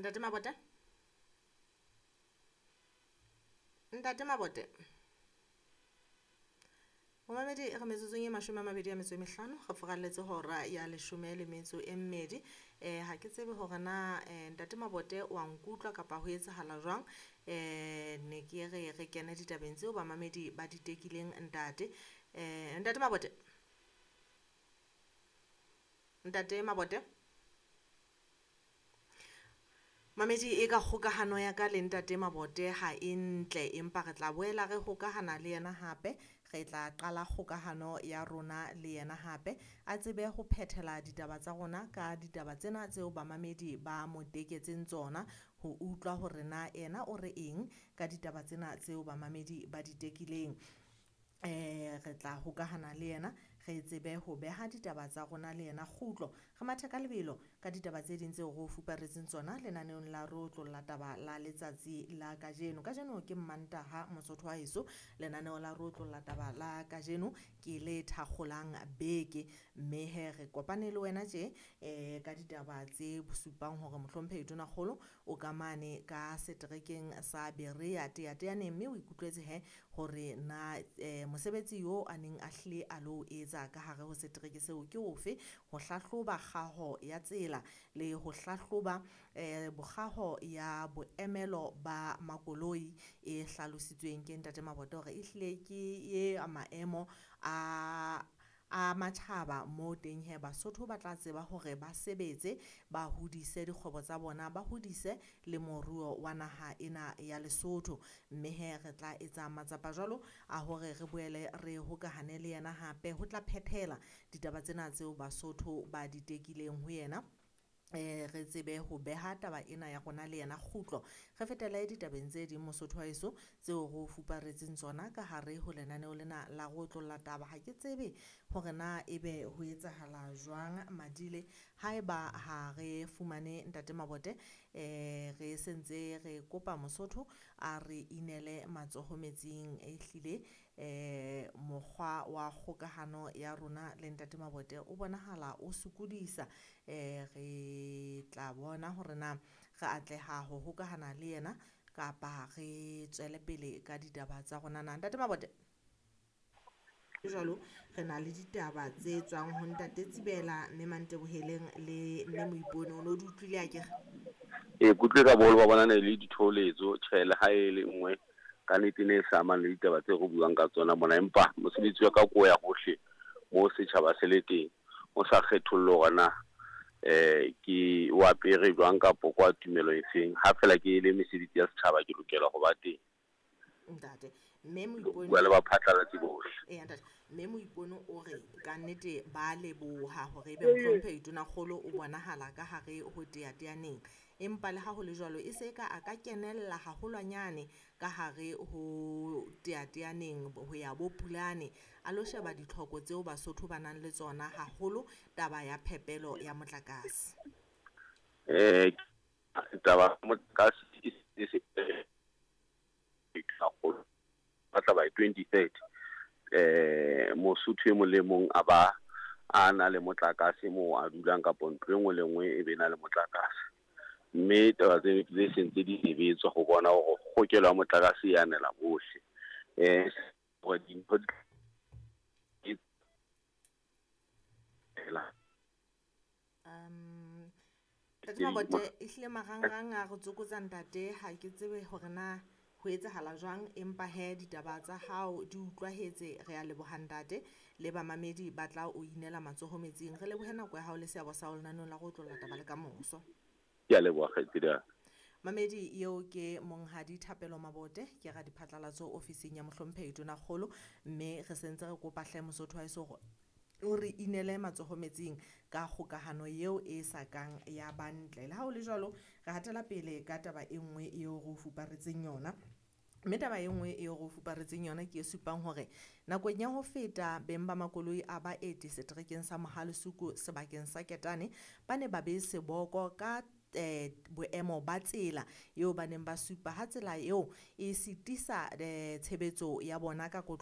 Ntate Mabote? Ntate Mabote? Momamedi, re metsotsong e 25 re furalletse hora ya 12. Ha ke tsebe hore na Ntate Mabote wa nkutlwa kapa ho etsahala jwang. Ne ke re re kene ditabeng tseo bamamedi ba di tekileng ntate. Ntate Mabote? Ntate Mabote? Mamedi, e ka kgokahano ya ka le Ntate Mabote ha e ntle, empa re tla boela re hokahana le yena hape. Re tla qala kgokahano ya rona le yena hape, a tsebe ho phethela ditaba tsa rona ka ditaba tsena tseo bamamedi ba mo teketseng tsona, ho utlwa hore na yena o re eng ka ditaba tsena tseo bamamedi ba di tekileng. Re tla hokahana le yena, re tsebe ho beha ditaba tsa rona le yena kgutlo. Re mathe ka lebelo ka ditaba tse ding tseo re o fuparetseng tsona lenaneong la Re Otlolla Taba la letsatsi la kajeno. Kajeno ke Mmantaha, Mosotho wa heso. Lenaneo la Re Otlolla Taba la kajeno ke le thakgolang beke, mme he re kopane le wena tje ka ditaba tse supang hore mohlomphehi Tonakgolo o ka mane ka seterekeng sa Berea Teyateyaneng, mme o ikutlwetse he hore na mosebetsi yo a neng a hlile a lo etsa ka hare ho setereke seo ke ofe, ho hlahloba kgaho ya tsela le ho hlahloba bokgaho ya boemelo ba makoloi e hlalositsweng ke Ntate Mabote hore ehlile ke e maemo a matjhaba moo teng he Basotho ba tla tseba hore ba sebetse, ba hodise dikgwebo tsa bona, ba hodise le moruo wa naha ena ya Lesotho. Mme he re tla etsa matsapa jwalo a hore re boele re hokahane le yena hape ho tla phethela ditaba tsena tseo Basotho ba di tekileng ho yena. Re tsebe ho beha taba ena ya rona le yena kgutlo. Re fetele ditabeng tse ding Mosotho wa heso tseo re o fuparetseng tsona ka hare ho lenaneo lena la Re Otlolla Taba. Ha ke tsebe hore na ebe ho etsahala jwang Madile, haeba ha re fumane Ntate Mabote, re sentse re kopa Mosotho a re inele matsoho metsing. Ehlile mokgwa wa kgokahano ya rona le Ntate Mabote o bonahala o sokodisa. Re tla bona hore na re atleha ho hokahana le yena kapa re tswele pele ka ditaba tsa rona na. Ntate Mabote? Jwalo re na le ditaba tse tswang ho Ntate Tsibela, mme Manteboheleng le mme Moipone. O no di utlwile akere? Ee, ke utlwile ka boholo ba bona ne le ditholetso, tjhe le ha e le nngwe ka nnete ne e sa amang le ditaba tse re buang ka tsona mona, empa mosebetsi wa ka ko ya hohle mo setjhaba se le teng, o sa kgetholle hore na ke o apere jwang kapo kwa tumelo e feng. Ha fela ke le mesebetsi ya setjhaba ke lokela ho ba teng. Ntate, mme Moipone bua le baphatlalatsi bohle. Eya ntate, mme Moipone o re ka nnete ba leboha hore ebe mohlomphehi Tonakgolo o bonahala ka hare ho Teyateyaneng, empa le ha ho le jwalo e se ka a ka kenella haholwanyane ka hare ho Teyateyaneng ho ya bo Pulane, a lo sheba ditlhoko tseo Basotho ba nang le tsona haholo taba ya phepelo ya motlakase. Taba motlakase e se batla by 2030 Mosotho e mong le mong a ba a na le motlakase moo a dulang kapo ntlo e nngwe le nngwe e be na le motlakase. Mme taba tse tse sentse di sebetswa ho bona hore kgokelo ya motlakase e anela bohle. Hore dintho di Ntate Mabote, ehlile marangrang a re tsokotsa ntate, ha ke tsebe hore na ho etsahala jwang, empa he ditaba tsa hao di utlwahetse. Re a leboha ntate, le bamamedi ba tla o inela matsoho metsing. Re lebohe nako ya hao le seabo sa hao lenaneong la Re Otlolla Taba le kamoso. Ke a leboha kgaitsedi ya ka. Mamedi, eo ke Monghadi Thapelo Mabote, ke radiphatlalatso ofising ya mohlomphehi Tonakgolo, mme re sentse re kopa hle Mosotho wa heso hore o re inele matsoho metsing ka kgokahano eo e sa kang ya ba ntle. Le ha ho le jwalo, re hatela pele ka taba e nngwe eo re o fuparetseng yona. Mme taba e nngwe eo re o fuparetseng yona ke e supang hore nakong ya ho feta beng ba makoloi a baeti seterekeng sa Mohalesuku sebakeng sa Ketane ba ne ba be seboko ka boemo ba tsela eo ba neng ba supa ha tsela eo e sitisa tshebetso ya bona ka